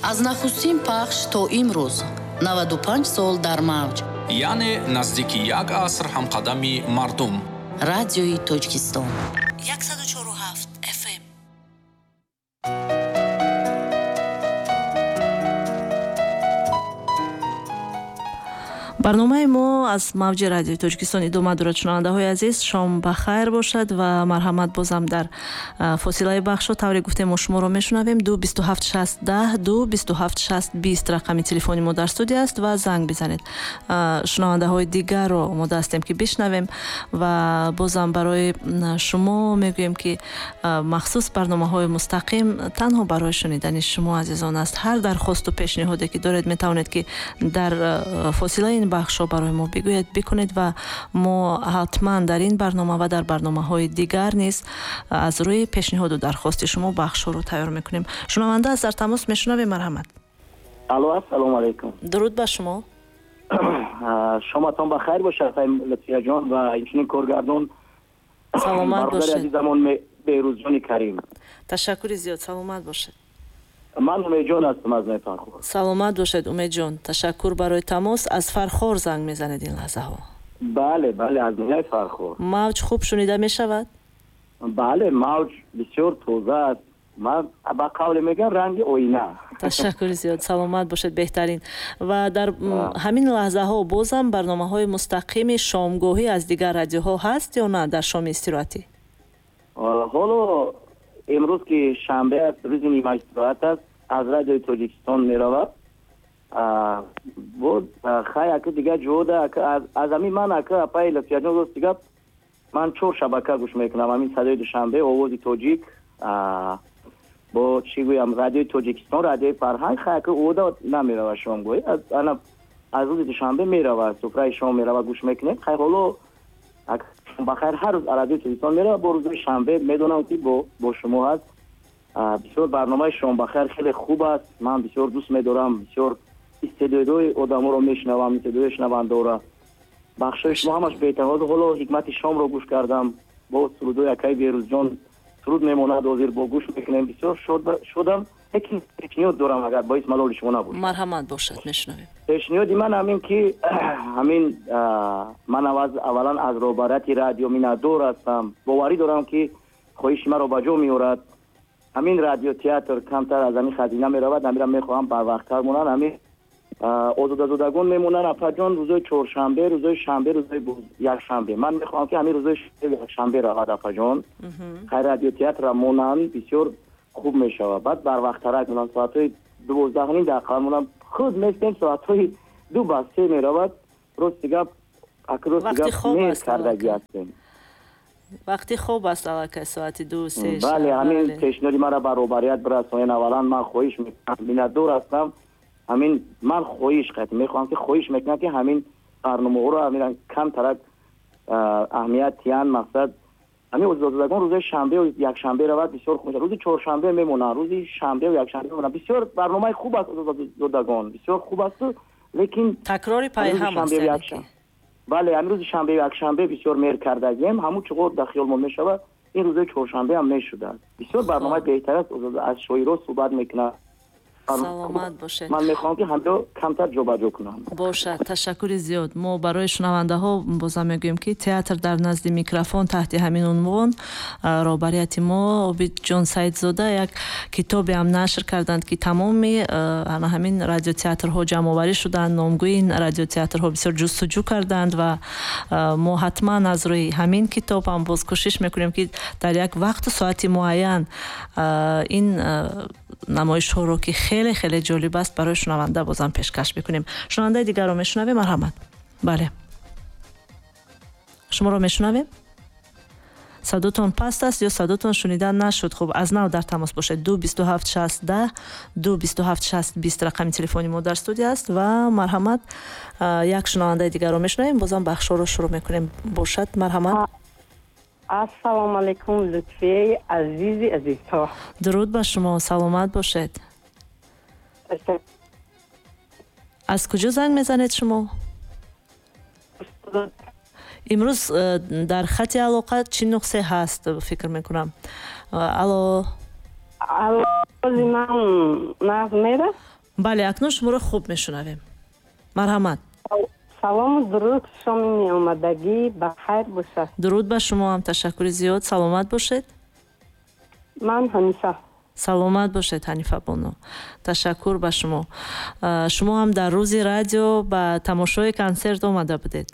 Аз нахустин пахш то имрӯз 95 сол дар мавҷ, яъне наздики як аср ҳамқадами мардум. Радиои Тоҷикистон 104,7 FM. Барномаи мо аз мавҷи Радиои Тоҷикистон идома дорад. Шунавандаҳои азиз, шом ба хайр бошад ва марҳамат, бозам дар фосилаи бахшо тавре гуфтем, мо шуморо мешунавем. 2 27 60 10, 2 27 60 20 рақами телефони мо дар студия аст ва занг бизанед. Шунавандаҳои дигарро омода ҳастем, ки бишнавем, ва бозам барои шумо мегӯем, ки махсус барномаҳои мустақим танҳо барои шунидани шумо азизон аст. Ҳар дархосту пешниҳоде ки доред, метавонед, ки дар фосилаи ин бахшҳо барои мо бигӯед, бикунед, ва мо ҳатман дар ин барнома ва дар барномаҳои дигар низ аз рӯи пешниҳоду дархости шумо бахшҳоро тайёр мекунем. Шунаванда аст дар тамос, мешунавем, марҳамат. Алло, ассалому алайкум. Дуруд ба шумо. Шоматон ба хайр бошад, Лутфияҷон, ва инчунин коргардон. Саломат бошед. Азизамон Беҳрӯзҷони Карим. Ташаккури зиёд, саломат бошед. Ман Умедҷон ҳастам аз Фархор. Саломат бошед, Умедҷон, ташаккур барои тамос. Аз Фархор занг мезанед ин лаҳзаҳо? Бале, бале, аз ноҳияи Фархор. Мавҷ хуб шунида мешавад? Бале, мавҷ бисёр тоза аст, ман ба қавле мегӯям, ранги оина. Ташаккури зиёд, саломат бошед, беҳтарин. Ва дар ҳамин лаҳзаҳо бозам барномаҳои мустақими шомгоҳӣ аз дигар радиоҳо ҳаст ё на дар шоми истироҳатӣ? Ҳоло имрӯз ки шанбе аст, рӯзи нима истироҳат аст, аз Радиои Тоҷикистон меравад. Боз хай, ака, дигар ҷода аз ҳамин ман, ака, апаи Лутфияҷон, рости гап, ман чор шабака гӯш мекунам: ҳамин Садои Душанбе, Овози Тоҷик, бо чӣ гӯям, Радиои Тоҷикистон, Радиои Фарҳанг. Хай, ака, ода намеравад шомгоҳӣ, ана аз рӯзи душанбе меравад, суфраи шом меравад, гӯш мекунем. Хай, ҳоло бахайр, ҳар рӯз Радиои Тоҷикистон меравад, бо рӯзои шанбе медонам, ки бо шумо ҳаст. Бисёр барномаи Шомбахайр хеле хуб аст, ман бисёр дӯст медорам, бисёр истеъдодҳои одаморо мешунавам, истеъдодҳои шунавандаора. Бахшҳои шумо ҳамаш беҳтар. Ҳоло Ҳикмати шомро гӯш кардам, бо сурудҳои акаи Берӯзҷон суруд мемонад, ҳозир бо гӯш мекунем, бисёр шодам. Лекин пешниҳод дорам, агар боис малоли шумо набошад. Марҳамат бошад, мешунавем. Пешниҳоди ман ҳамин ки ҳамин ман аввалан аз роҳбарияти радио миннатдор ҳастам, боварӣ дорам, ки хоҳиши маро ба ҷо меорад. Ҳамин радиотеатр камтар аз ҳамин хазина меравад, ҳамира мехоҳам барвақттар монанд, ҳамин Озодазодагон мемонанд, апаҷон, рӯзои чоршанбе, рӯзои шанбе, рӯзои якшанбе. Ман мехоҳам, ки ҳамин рӯзои якшанбе равад, апаҷон. Хай, радиотеатра монанд, бисёр хуб мешавад. Баъд барвақттарак монанд, соатҳои 12:30 дақиқа монанд. Худ местем, соатҳои 2 ба 3 меравад. Рости гап, рости гап, мер кардагӣ ҳастем. Вақти хоб аст аллакай соати 2-3. Бале, ҳамин пешниҳоди маро ба роҳбарият бирасонед. Аввалан ман хоҳиш мекунам, миннатдор ҳастам. Ҳамин ман хоҳиш мехоҳам, ки хоҳиш мекунам, ки ҳамин барномаҳоро ҳамин камтарак аҳамият тиян. Мақсад, ҳамин Озодазодагон рӯзои шанбеу якшанбе равад, бисёр хуб мешавад. Рӯзи чоршанбе мемонанд, рӯзи шанбеу якшанбе мемонанд. Бисёр барномаи хуб аст Озодазодагон, бисёр хуб асту, лекин такрори пайҳам аст. Бале, ҳамин рӯзи шанбеу якшанбе бисёр мер кардагием, ҳамун чуқур дар хиёлмон мешавад, ин рӯзои чоршанбе ҳам мешудааст. Бисёр барномаи беҳтар аст, аз шоиро суҳбат мекунад. Саломат бошед. Ман мехоҳам, ки ҳамро камтар ҷобаҷо кунам. Бошад, ташаккури зиёд. Мо барои шунавандаҳо бозам мегӯем, ки «Театр дар назди микрофон» таҳти ҳамин унвон роҳбарияти мо Обидҷон Саидзода як китобеам нашр карданд, ки тамоми ана ҳамин радиотеатрҳо ҷамъоварӣ шуданд, номгӯи ин радиотеатрҳо бисёр ҷустуҷӯ карданд, ва мо ҳатман аз рӯи ҳамин китоб ҳам боз кӯшиш мекунем, ки дар як вақту соати муайян ин намоишҳоро, ки хеле хеле ҷолиб аст, барои шунаванда бозам пешкаш мекунем. Шунавандаи дигарро мешунавем, марҳамат. Бале, шуморо мешунавем. Садотон паст аст ё садотон шунида нашуд. Хуб, аз нав дар тамос бошед. 2 27 60 10, 2 27 60 20 рақами телефони мо дар студия аст ва марҳамат, як шунавандаи дигарро мешунавем, бозам бахшҳоро шурӯъ мекунем. Бошад, марҳамат. Ассалому алайкум, Лутфияи азизи азизҳо. Дуруд ба шумо, саломат бошед. Аз куҷо занг мезанед шумо? Имрӯз дар хати алоқа чӣ нуқсе ҳаст, фикр мекунам. Алло. Ман нағз мера. Бале, акнун шуморо хуб мешунавем, марҳамат. Салому дуруд, шоми меомадагӣ ба хайр бошад. Дуруд ба шумо ҳам, ташаккури зиёд, саломат бошед. Ман Ҳанифа. Саломат бошед, Ҳанифа бону, ташаккур ба шумо. Шумо ҳам дар Рӯзи радио ба тамошои консерт омада будед?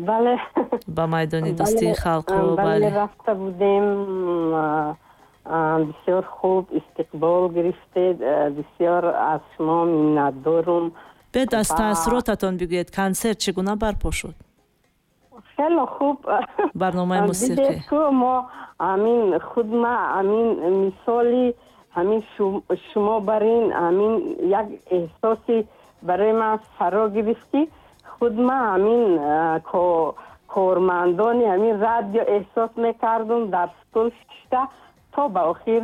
Бале. Ба майдони Дӯстии халқҳо. Бале, рафта будем. Бисёр хуб истиқбол гирифтед, бисёр аз шумо миннатдорум. Бед аз таассуротатон бигӯед, консерт чӣ гуна барпо шуд? Хеле хуб. Барномаи мусиқӣ. Мо ҳамин худ ма ҳамин мисоли ҳамин шумо бар ин ҳамин як эҳсоси барои ман фаро гирифт, ки худ ма ҳамин кормандони ҳамин радио эҳсос мекардум. Дар стул шишта то ба охир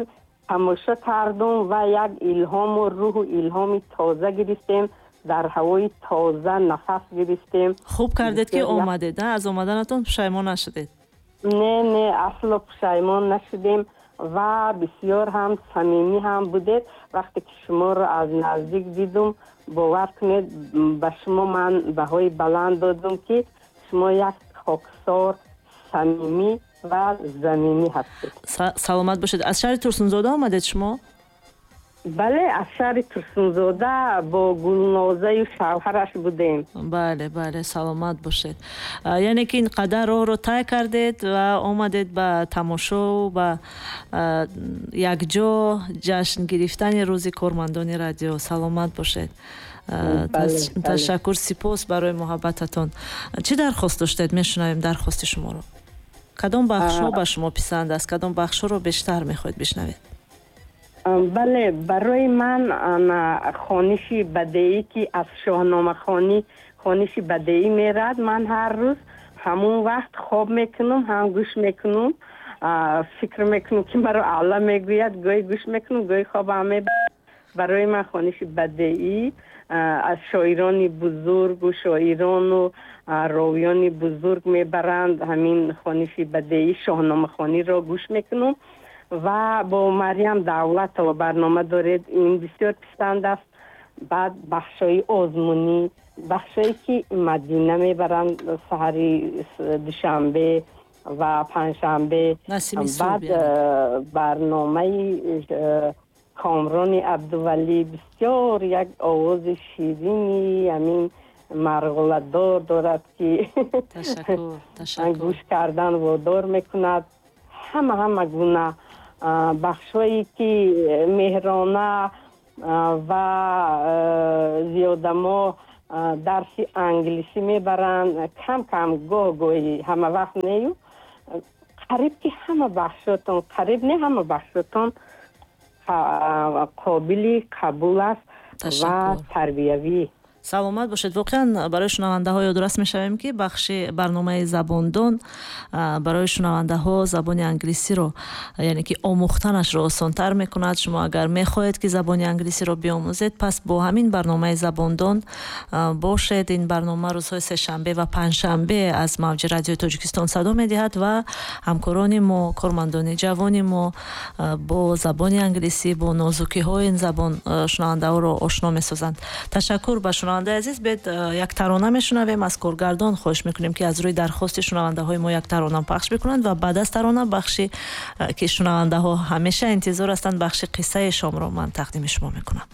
тамошо кардум ва як илҳому рӯҳу илҳоми тоза гирифтем, дар ҳавои тоза нафас гирифтем. Хуб кардед, ки омадед, аз омаданатон пушаймон нашудед? Не, не, асло пушаймон нашудем ва бисёр ҳам самимӣ ҳам будед. Вақте ки шуморо аз наздик дидум, бовар кунед, ба шумо ман баҳои баланд додум, ки шумо як хоксор, самимӣ ва заминӣ ҳастед. Саломат бошед. Аз шаҳри Турсунзода омадед шумо? Бале, аз шаҳри Турсунзода бо Гулнозаю шавҳараш будем. Бале, бале, саломат бошед. Яъне ки ин қадар роҳро тай кардед ва омадед ба тамошо, ба якҷо ҷашн гирифтани Рӯзи кормандони радио. Саломат бошед, ташаккур, сипос барои муҳаббататон. Чӣ дархост доштед? Мешунавем дархости шуморо. Кадом бахшҳо ба шумо писанд аст, кадом бахшҳоро бештар мехоҳед бишнавед? Бале, барои ман хониши бадеӣ, ки аз шоҳномахонӣ хониши бадеӣ мерад, ман ҳар рӯз ҳамон вақт хоб мекунам, ҳам гӯш мекунам, фикр мекунам, ки маро Алла мегӯяд, гоҳе гӯш мекунам, гоҳе хобам мебарад. Барои ман хониши бадеӣ аз шоирони бузургу шоирону ровиёни бузург мебаранд. Ҳамин хониши бадеӣ, шоҳномахониро гӯш мекунам ва бо Марьям Давлатова барнома доред, ин бисёр писанд аст. Баъд бахшҳои озмунӣ, бахшҳое ки Мадина мебаранд саҳари душанбе ва панҷшанбе, баъд барномаи Комрони Абдувалӣ, бисёр як овози ширини ҳамин марғуладор дорад, ки гӯш кардан водор мекунад. Ҳама гуна бахшҳое ки меҳрона ва зиёдамо дарси англисӣ мебаранд, кам кам, гоҳ гоҳӣ, ҳама вақт нею, қариб ки ҳама бахшотон, қариб не, ҳама бахшотон қобили қабул аст ва тарбиявӣ. Саломат бошед. Воқеан, барои шунавандаҳо ёдрас мешавем, ки бахши барномаи Забондон барои шунавандаҳо забони англисиро, яъне ки омӯхтанашро осонтар мекунад. Шумо агар мехоҳед, ки забони англисиро биомӯзед, пас бо ҳамин барномаи Забондон бошед. Ин барнома рӯзҳои сешанбе ва панҷшанбе аз мавҷи Радиои Тоҷикистон садо медиҳад ва ҳамкорони мо, кормандони ҷавони мо бо забони англисӣ, бо нозукиҳои ин забон шунавандаҳоро ошно месозанд. Ташаккур ба шунавандаи азиз. Бед як тарона мешунавем. Аз коргардон хоҳиш мекунем, ки аз рӯи дархости шунавандаҳои мо як тарона пахш бикунанд ва баъд аз тарона бахши, ки шунавандаҳо ҳамеша интизор ҳастанд, бахши қиссаи шомро ман тақдими шумо мекунам.